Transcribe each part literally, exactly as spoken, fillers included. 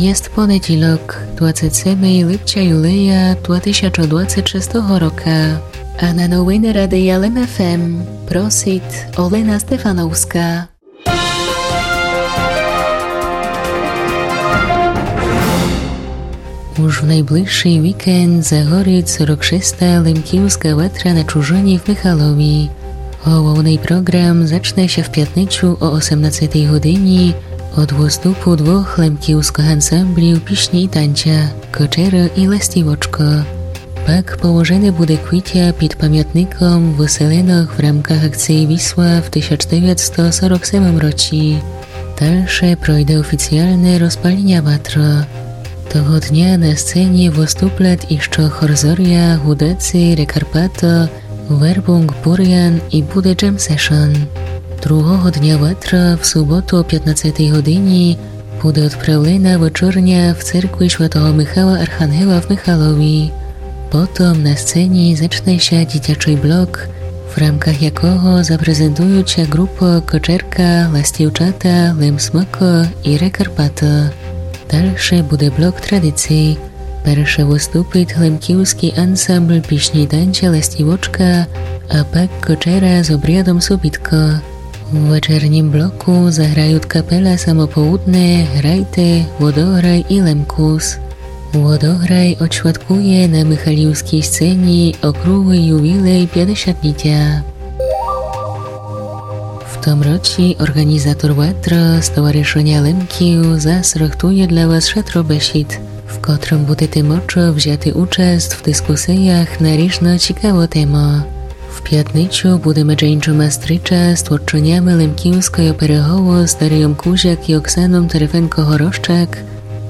Єст понедїлок, двадцет семей липця юлия два тисячы двадцет шестого рока. А на новины Радия Лем ФМ просит Олена Стефановска. Уж в найближшый вікенд загорит сорок шеста Лемківска ватра на чужыні в Михалові. Головный програм зачне ся в пятницю о осемнадцетій годині од выступу двох лемківскых ансамблів пісні і танця «Кочера» і «Ластівочка». Пак положене буде квітя під памятником выселенок в рамках акциі «Вісла» в тисяч девятсто сорок семым році. Дальше пройде офіціалне розпаліня ватры. Того дня на сцені выступлят іщы хор «Зоря», гудеці, «Рекарпато», «Вербунґ», «Бурян» і буде джем-сешн. Другого дня ватры, в суботу о пятнадцетій годині, буде одправлена вечерня в церкви святого Михала Архангела в Михалові. Потом на сцені зачне ся дітячый блок, в рамках якого запрезентуют ся ґрупы «Кочерка», «Ластівчата», «Лем Смоко» і «Рекарпато». Дальше буде блок традицій. Перше выступит лемківскій ансамбль пісні і танця «Ластівочка», а пак «Кочера» з обрядом «Субітко». У вечернім блоку заграют капела «Самопоудне», «Грайте», «Водограй» і «Лемкус». «Водограй» одсвяткує на михалівскій сцені округлый ювілей пятдесятлітя. В том році орґанізатор ватры, Стоваришыня Лемків, зас рыхтує для вас шатро бесід, в котрым будете мочы взяти участ в дискусіях на ріжно цікавы темы. В пятницю буде медже іншыма стріча з творчынями лемківской оперы «Голос» Дарийом Кузяк і Оксаном Терефенко-Горощак,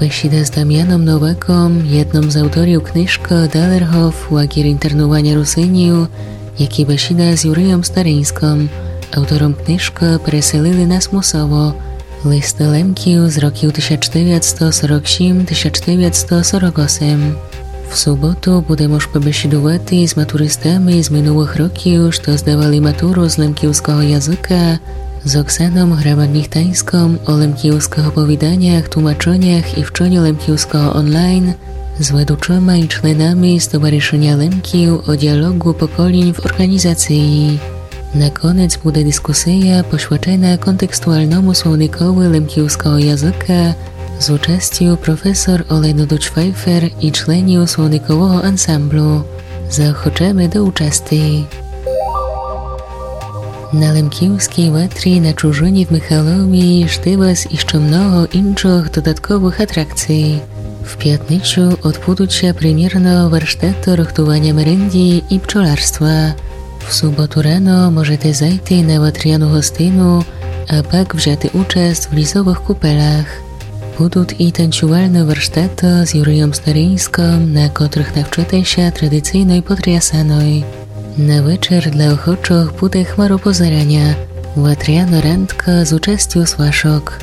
бесіда з Дамяном Новаком, єдным з авторів книжкы «Далергоф. Лагір інтернуваня русинів», як і бесіда з Юрийом Стариньскым, автором книжкы «Переселили нас мусово. Листы лемків з років тисяч девятсто сорок сім, тисяч девятсто сорок осем». В суботу буде мож побесідувати з матуристами з минулых років, што здавали матуру з лемківского языка, з Оксаном Грамадніх-Таньском о лемківскых оповіданях, тлумачынях і вчоню лемківского онлайн, з ведучыма і членами Стоваришыня Лемків о діалоґу поколінь в орґанізациі. На конец буде дискусія, посвячена контекстуалному словникови лемківского языка з участю професор Олени Дудж-Файфер і членів словникового ансамблю. Заохочеме до участи. На лемківскій ватрі на чужыні в Михалові жде вас іщы много іншых додатковых атракций. В пятницю одбудут ся премєрно варштаты рыхтуваня мерендї і пчоларства. В суботу рано можете зайти на ватряну гостину, а пак взяти участ в лізовых купелях. Будут і танцювальны варштаты з Юрийом Стариньскым, на котрых навчыте ся традицийной потрясаной. На вечер для охочых буде хмаропозераня, ватряна рандка з участю свашок.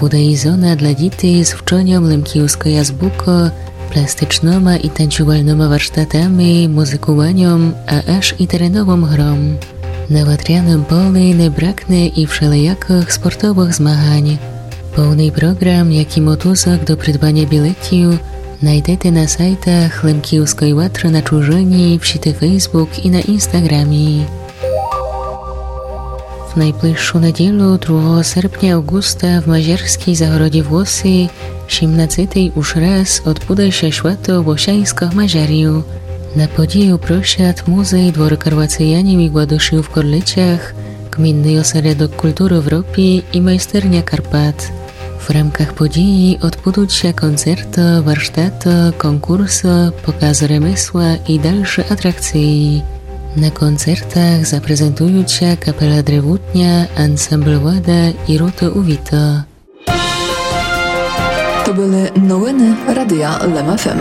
Буде і зона для дітей з вчоньом лемківской азбукы, пластичныма і танцювальныма варштатами, музыкуваньом, а аж і тереновым гром. На ватряным полі не бракне і вшелиякых спортовых змагань. Повный програм, як і мотузок до придбаня білетів, найдете на сайтах Лемківской ватры на чужыні, в сіти Facebook і на Інстаграмі. В найближшу неділю, другого серпня Авґуста, в мажарскій Загородї Вглоси, сімнадцетый уж раз одбуде ся свято вглосяньскых Мажарів. На подію просят Музей двору Карвацеянів і Гладушів в Корлицях, Ґмінный осередок культуры в Ропі і Майстерня Карпат. В рамках події одбудут ся концерты, варштаты, конкурсы, показ ремесла і дальшы атракциі. На концертах запрезентуют ся капела Древутня, ансамбль Влада і рота Увіта. То были новины Радия Лем ФМ.